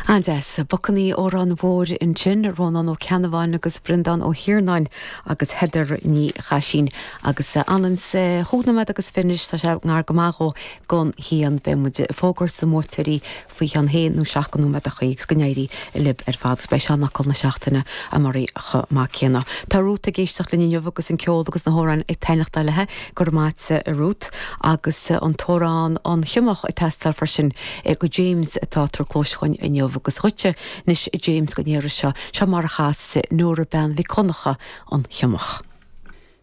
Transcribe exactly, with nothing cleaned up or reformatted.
An-deas, Bacainní Órán Mhóir ansin, Rónán Ó Ceannabháin agus Breandán Ó hIarnáin agus Heather Ní Chaisín agus anann chúig nóiméad agus fiche anois tá sé ngar go maith dhó gon haon beidh muid ag fógairt na mbuaiteoirí faoi cheann haon nó seacht go nóiméadachaí agus go n-éirí libh ar fad agus beidh seanfhocal na seachtaine amárach chomh maith céanna. Tá Ruth ag éisteacht linn inniu agus an ceol agus na hamhráin ag taitneachtáil léi go raibh maith agat a Ruth agus an t-amhrán an Sionnach ag teastáil freisin go James atá tar clóis chugainn inniu agus dhuitse anois James go n-éire seo seo mar a chas Nóra Bean Mhic Dhonncha an Sionnach.